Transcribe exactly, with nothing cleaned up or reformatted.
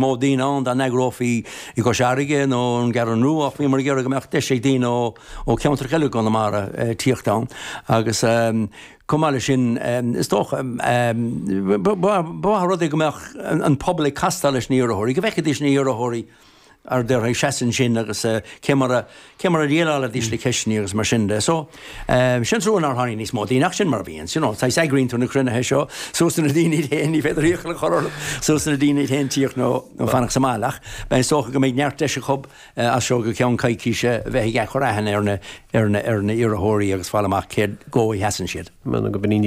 mó daoine ann dá n-eagrófaí i gCois Fharraige nó an gCeathrú Rua ach bhíomar ag iarraidh go mbeadh deis ag daoine ó ó cheantar eile Chonamara tíocht ann agus chomh maith leis sin is dócha ba mhaith rud é go mbeadh an pobal ag castáil leis na hiarrthóirí, go bhfeicfidís na hiarrthóirí ar deireadh ag seasamh ansin agus cé mar a cé mar a dhéileálaidís le ceisteanna agus mar sin de. So sin trua nár tháinig níos mó daoine ach sin mar a bhíonn, you know, saghas eagraíonn tú na cruinnithe seo suas na daoine féin ní féidir iachall a chur orthu suas na daoine féin tíocht nó nó fanacht sa mbaile ach beidh is dócha go mbeidh neart deis acu as seo go ceann coicíse bheith ag cur aithne ar na ar na ar na iarrthóirí agus fáil amach céard dó a sheasann siad. Go b'in